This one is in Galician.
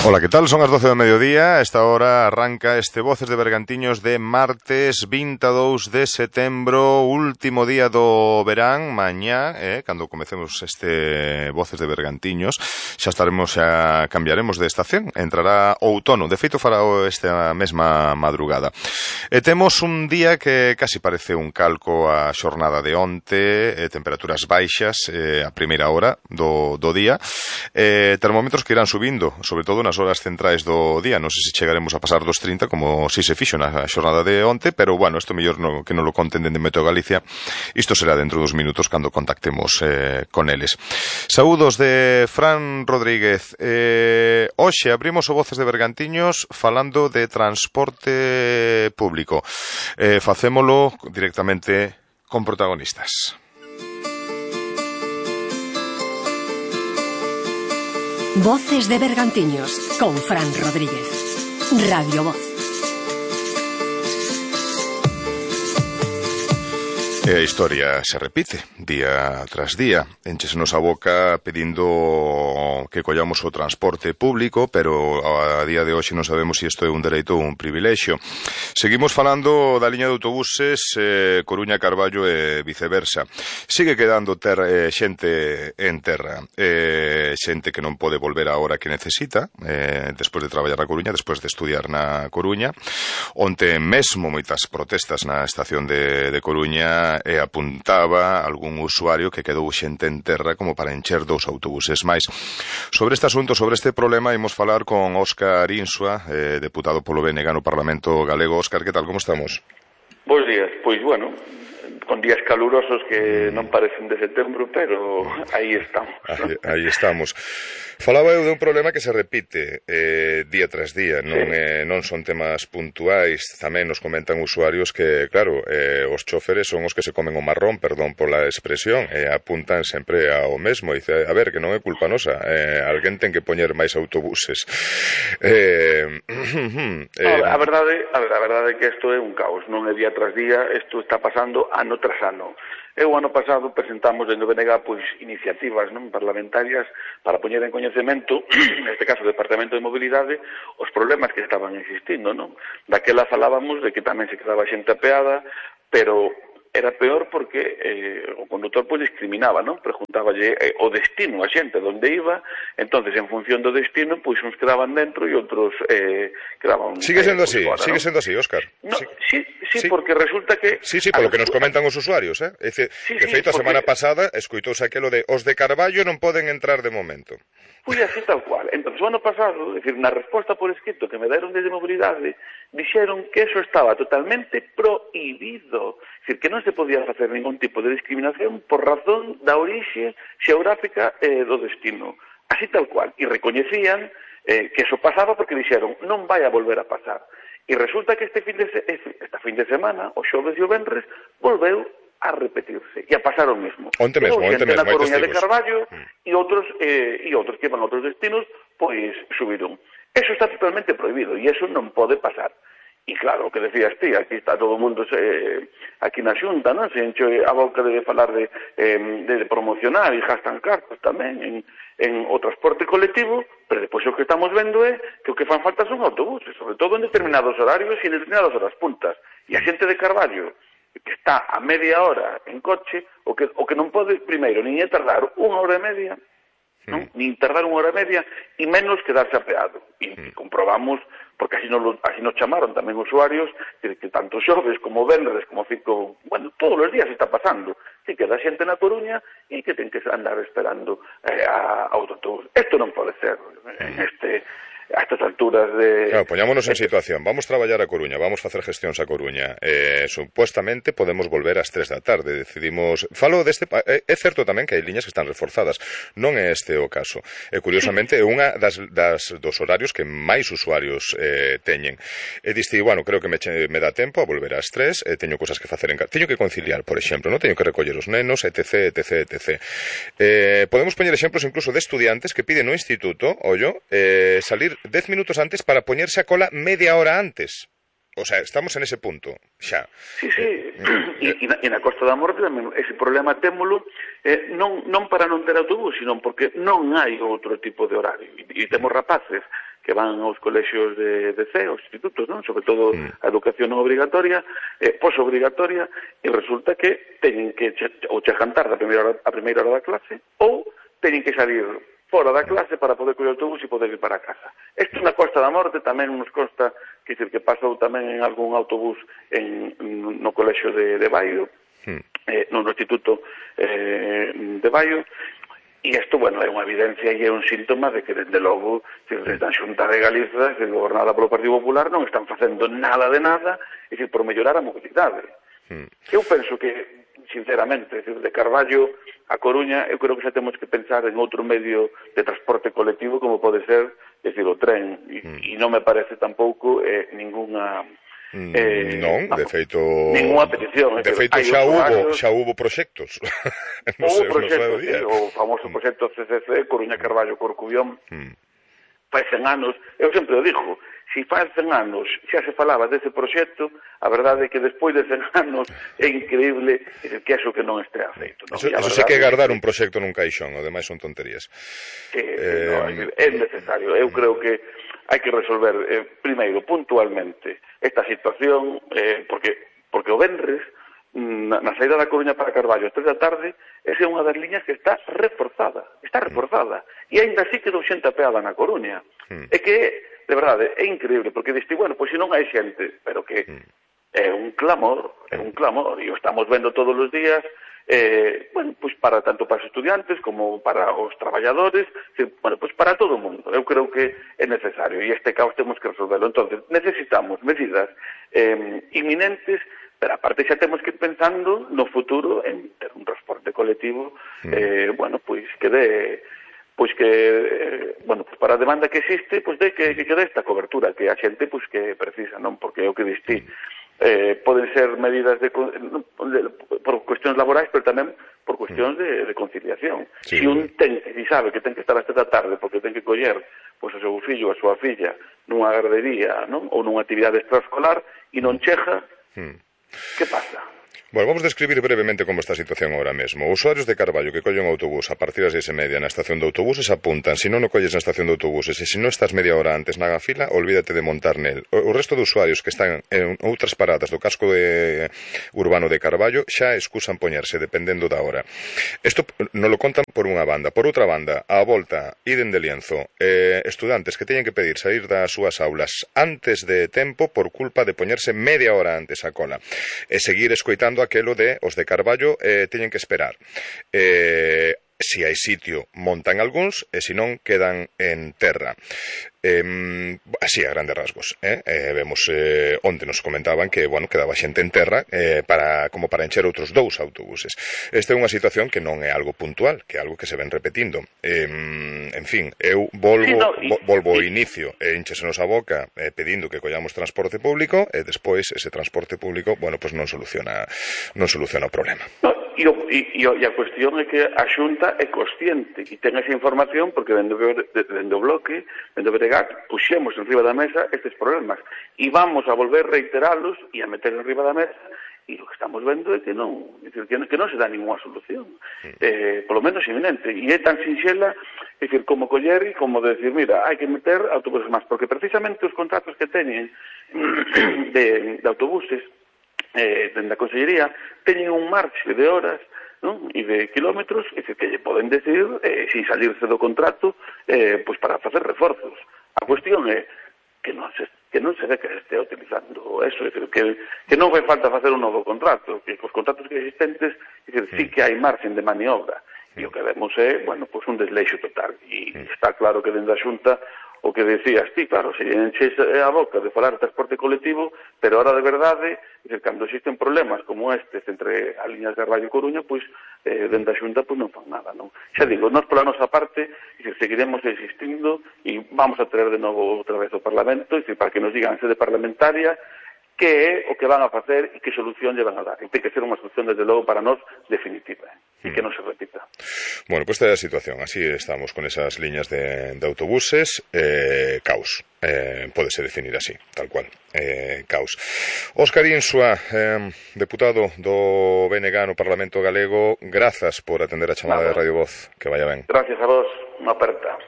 Ola, que tal? Son as 12 do mediodía. A esta hora arranca este Voces de Bergantiños de martes 22 de setembro, último día do verán. Mañá, cando comecemos este Voces de Bergantiños, xa cambiaremos de estación. Entrará outono. De feito, fará esta mesma madrugada. E temos un día que casi parece un calco a xornada de onte, temperaturas baixas a primeira hora do día, termómetros que irán subindo, sobre todo nas horas centrais do día. Non sei se chegaremos a pasar dos 30 como si se fixo na xornada de onte, pero bueno, isto mellor que non lo conten dende Meteo Galicia. Isto será dentro dos minutos cando contactemos con eles. Saúdos de Fran Rodríguez. Hoxe abrimos o Voces de Bergantiños falando de transporte público. Facémolo directamente con protagonistas. Voces de Bergantiños con Fran Rodríguez. Radio Voz. E a historia se repite día tras día. Enchesenos a boca pedindo que collamos o transporte público, pero a día de hoxe non sabemos se isto é un dereito ou un privilexio. Seguimos falando da liña de autobuses Coruña-Carballo e viceversa. Sigue quedando xente en terra, xente que non pode volver a hora que necesita, despois de traballar na Coruña, despois de estudiar na Coruña. Onte mesmo moitas protestas na estación de Coruña, e apuntaba algún usuario que quedou xente en terra como para encher 2 autobuses máis. Sobre este asunto, sobre este problema, imos falar con Óscar Insua, deputado polo BNG no Parlamento Galego. Óscar, que tal, como estamos? Bos días, pois bueno, con días calurosos que non parecen de setembro, pero aí estamos. Aí estamos. Falaba eu de un problema que se repite día tras día, non son temas puntuais. Tamén nos comentan usuarios que, claro, os chóferes son os que se comen o marrón, perdón pola expresión, apuntan sempre ao mesmo. Dice, a ver, que non é culpa nosa, alguén ten que poñer máis autobuses. A verdade é que isto é un caos, non é día tras día, isto está pasando ano tras ano. O ano pasado presentamos dentro do BNG iniciativas parlamentarias para poñer en coñecemento, neste caso o Departamento de Mobilidade, os problemas que estaban existindo, non? Daquela falábamos de que tamén se quedaba xente apeada, pero era peor porque o conductor discriminaba, non? Preguntáballe o destino a xente onde iba, entonces en función do destino, uns quedaban dentro e outros quedaban Sigue sendo así, fora, sigue sendo así, Óscar. No, sí, porque resulta que... Sí, polo que nos comentan os usuarios, De feito, a semana pasada escoitouse aquelo de os de Carballo non poden entrar de momento. Foi así tal cual. Entón, o ano pasado, na resposta por escrito que me deron desde Mobilidade, dixeron que eso estaba totalmente prohibido. É dicir, que non se podía facer ningún tipo de discriminación por razón da orixe xeográfica do destino. Así tal cual. E recoñecían que eso pasaba porque dixeron non vai a volver a pasar. E resulta que esta fin de semana, o xoves e o venres, volveu a repetirse e a pasar o mesmo. Onte mesmo, na Coruña de Carballo e outros que van a outros destinos, subiron. Eso está totalmente prohibido e eso non pode pasar. E claro, o que decías ti, aquí está todo o mundo aquí na Xunta, non? Se enche a boca de falar de promocionar e gastan cartas tamén en o transporte colectivo, pero depois o que estamos vendo é que o que fan falta son autobuses, sobre todo en determinados horarios e en determinadas horas puntas. E a xente de Carballo, que está a media hora en coche, o que non pode, primeiro, nin tardar 1 hora e media, non? Nin tardar 1 hora e media, e menos quedarse apeado. E comprobamos, porque así nos chamaron tamén usuarios, que tanto xoves como venres, como todos os días está pasando. Que queda xente na Coruña e que ten que andar esperando a autobús. Isto non pode ser a estas alturas de... Claro, poñámonos en situación. Vamos traballar a Coruña, vamos facer gestións a Coruña. Supuestamente podemos volver ás 3 da tarde. Decidimos... Falo deste... É certo tamén que hai liñas que están reforzadas. Non é este o caso. E curiosamente é unha dos horarios que máis usuarios teñen. E diste, bueno, creo que me dá tempo a volver ás 3, teño cosas que facer teño que conciliar, por exemplo, non teño que recoller os nenos, etc. Podemos poñer exemplos incluso de estudiantes que piden no instituto, salir 10 minutos antes para poñerse a cola media hora antes. O sea, estamos en ese punto, xa. Sí, e na Costa da Morte tamén ese problema témolo non para non ter autobús, sino porque non hai outro tipo de horario. E temos rapaces que van aos colexios de C, aos institutos, non? Sobre todo a educación non obrigatoria, posobrigatoria, e resulta que teñen que ou chegantar a primeira hora da clase ou teñen que salir fora da clase para poder coller o autobús e poder ir para casa. Isto na Costa da Morte tamén nos consta, que pasou tamén en algún autobús no colexio de Baio, no instituto de Baio. E isto, bueno, é unha evidencia e é un síntoma de que, dende logo, desde a Xunta de Galiza, gobernada polo Partido Popular, non están facendo nada de nada, por mellorar a mobilidade. Eu penso que, sinceramente, de Carballo a Coruña, eu creo que xa temos que pensar en outro medio de transporte colectivo, como pode ser, o tren, e non me parece tampouco ninguna... non, de feito... Ninguna petición. De feito, xa hubo proxectos. Houve proxectos, o famoso proxecto CCC, Coruña, Carballo, Corcubión, fai 100 anos. Eu sempre o digo, se fai 100 anos xa se falaba dese proxecto, a verdade é que despois de 100 anos é increíble que eso que non estea feito. Eso sei que é guardar un proxecto nun caixón, o demais son tonterías. É necesario. Eu creo que hai que resolver, primeiro, puntualmente, esta situación, porque o venres, na saída da Coruña para Carballo, a 3 da tarde, esa é unha das liñas que está reforzada, e ainda así quedou xente apeada na Coruña. É que, de verdade, é increíble, porque diste, bueno, pois se non hai xente, pero que é un clamor, e o estamos vendo todos os días, bueno, pois tanto para os estudiantes como para os traballadores, bueno, pois para todo o mundo. Eu creo que é necesario, e este caos temos que resolverlo. Entonces, necesitamos medidas inminentes, pero aparte xa temos que ir pensando no futuro en ter un transporte colectivo, bueno, pois que dé, bueno, pues para a demanda que existe, pois de que dé esta cobertura que a xente pois que precisa, non? Porque é o que diste, poden ser medidas por cuestións laborais, pero tamén por cuestións de conciliación. Se un sabe que ten que estar hasta da tarde porque ten que coller pois o seu fillo ou a súa filla nunha gardería, non? Ou nunha actividade extraescolar e non chega, que pasa? Bueno, vamos a describir brevemente como está a situación ahora mesmo. Os usuarios de Carballo que collen o autobús a partir das 6:30 na estación de autobuses apuntan: se non o colles na estación de autobuses e se non estás media hora antes na fila, olvídate de montar nel. O resto de usuarios que están en outras paradas do casco urbano de Carballo xa excusan poñerse dependendo da hora. Isto non lo contan por unha banda. Por outra banda, á volta, iden de Lienzo, estudantes que teñen que pedir sair das súas aulas antes de tempo por culpa de poñerse media hora antes a cola e seguir escoitando aquelo de os de Carballo teñen que esperar. Se hai sitio, montan algúns, e se non, quedan en terra. Así, a grandes rasgos. Vemos onde nos comentaban que, bueno, quedaba xente en terra como para encher outros 2 autobuses. Esta é unha situación que non é algo puntual, que é algo que se ven repetindo. En fin, eu volvo ao inicio, enchesenos a boca pedindo que collamos transporte público e despois ese transporte público, bueno, pues non soluciona o problema. E a cuestión é que a Xunta é consciente e ten esa información porque dende o bloque, dende o Bregat, puxemos en riba da mesa estes problemas e vamos a volver a reiteralos e a meter en riba da mesa, e o que estamos vendo é que non se dá ninguna solución, polo menos inminente, e é tan sinxela, como coller e como decir, mira, hai que meter autobuses máis, porque precisamente os contratos que teñen de autobuses dende a Consellería teñen un marxe de horas, non? E de kilómetros, que lle poden decir sin salirse do contrato pois para facer reforzos. A cuestión é que non se ve que se estea utilizando eso, que non fai falta facer un novo contrato, que os contratos que existentes sí que hai marxen de maniobra, e o que vemos é, bueno, pois un desleixo total, e está claro que dende a Xunta o que decías ti, claro, se enches a boca de falar de transporte colectivo, pero ahora de verdade, cando existen problemas como estes entre as liñas de Carballo e Coruña, pois, dende a Xunta, pois non fan nada, non? Xa digo, nós pola nosa parte, seguiremos existindo e vamos a traer de novo outra vez ao Parlamento, para que nos digan sede parlamentaria que é o que van a facer e que solución lle van a dar. E ten que ser unha solución, desde logo, para nós, definitiva, e que non se repita. Bueno, pues esta é a situación. Así estamos con esas liñas de autobuses. Caos. Pódese definir así, tal cual. Caos. Óscar Insua, deputado do BNG no Parlamento Galego, grazas por atender a chamada de Radio Voz. Que vaya ben. Gracias a vos. Unha aperta.